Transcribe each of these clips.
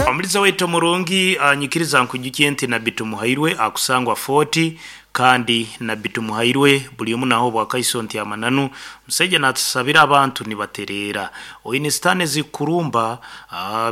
Omuliza waitu omurungi, nyikiriza nkwijukye nti Nabbi Tumuhairwe akusangwa Fort kandi Nabbi Tumuhairwe buli omu naha obwakaiso nti amananu omusaija natusabira abantu nibatereera. Oine sitaani ezikukurumba,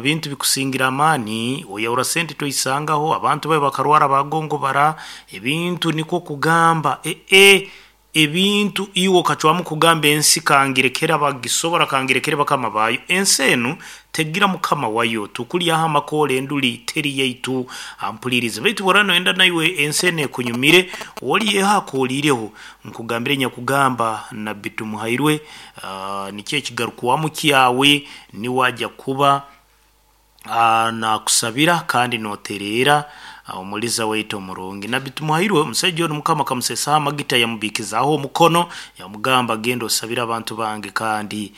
bintu bikusingira amaani, oyahura sente toisangaho, abantu bawe bakarwara bagongobara, ebintu nikwo kugamba eeh Ebintu iwe okacwamu kugamba ensi kangirekere abagisobora kangirekere bakama baayo. Ensi enu tegira mukama wayo. Tukulyaho amakoora enduli teri yaitu. Ampulirize. Baitu bworaba noyenda naiwe ensi enu ekunyumire, oliyeho akooliireho. Nkugambire nyakugamba Nabbi Tumuhairwe, nikyo ekigarukwamu kyawe, niwe aja kuba Naakusabira kandi nootereera Omuliza waitu omurungi. Nabbi Tumuhairwe, omusaija onu Mukama akamuseesaho amagita yamubiikizaaho omukono, yamugamba, Genda osabire abantu bange kandi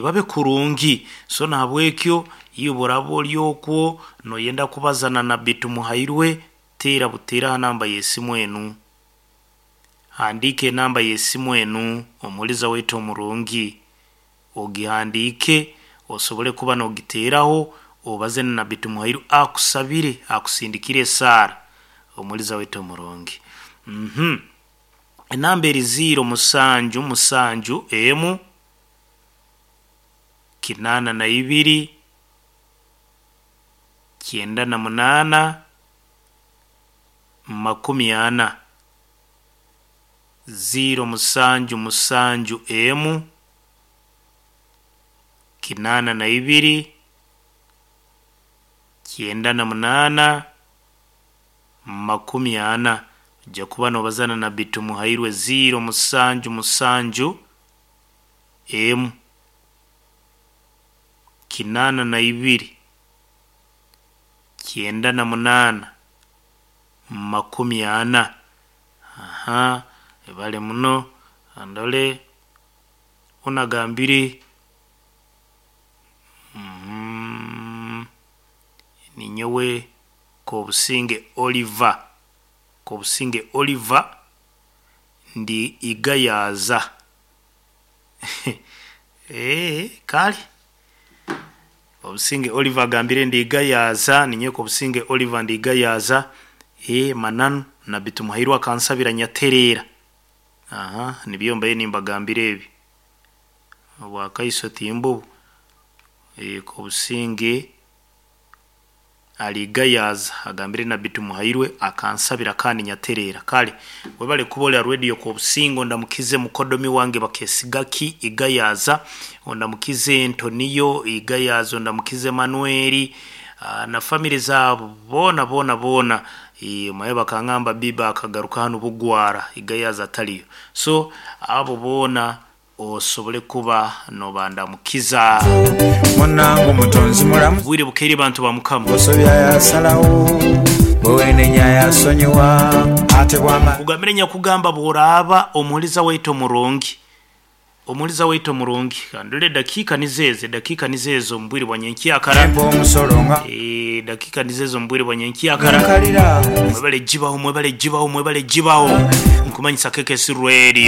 babe kurungi. So nahabwekyo iwe obu oraaba ori okwo nooyenda kubaza na Nabbi Tumuhairwe, teera buteera ha namba y'esimu enu. Handiika enamba y'esimu enu, Omuliza waitu omurungi. Ogihandiike osobole kuba nogiteeraho obaze na Nabbi Tumuhairwe akusabire akusindikire esaara Omuliza waitu omurungi. Uhmm enamba eri ziiro musanju musanju emu kinaana na ibiri kyenda na munaana makumi ana. Ziiro musanju musanju emu, kinaana na ibiri, kyenda na munaana, makumi ana. Oija kuba nobaza na Nabbi Tumuhairwe ziiro musanju musanju emu, kinaana na ibiri, kyenda na munaana, makumi ana. Aha, webale muno. Kandore onu agambire ninyowe Kobusinge Oliver, Kobusinge Oliver ndi Igayaza eeh kale Kobusinge Oliver agambire ndi Igayaza, ninyowe Kobusinge Oliver ndi Igayaza, eeh mananu Nabbi Tumuhairwe akansabira nyatereera. Aha nibyo mbaire nimbagambira ebi. Obwakaiso timbubu. Eeh Kobusinge ari Igayaza agambire Nabbi Tumuhairwe akansabira kandi nyatereera. Kale webale kuba ori aha radio Kobusinge ondamukize mukodomi wange Bakesigaki Igayaza, ondamukize Ntoniyo Igayaza, ondamukize Manuel na family zaabo boona boona boona. Omanye bakangamba Biba akagaruka hanu Bugwara Igayaza atariyo. So abo boona osobole kuba nobandamukiza. Munange omutonzi mulamu. Obwire bukeire bantu ba Mukama. Osobya yasalagho, bwe wenenya yasonyiwa, ate bwamala. Nkugambire nyakugamba bworaaba omuhuriza waitu omurungi, omuhuriza waitu omurungi, kandore edakiika nizo ezo, edakiika nizo ezo omu bwire bwa nyenkyakara, Empa omusolo nga. edakiika nizo ezo omu bwire bwa nyenkyakara, Nkalira. mwebale gibaho, mwebale gibaho, mwebale gibaho, nkumanyisa KKC Radio.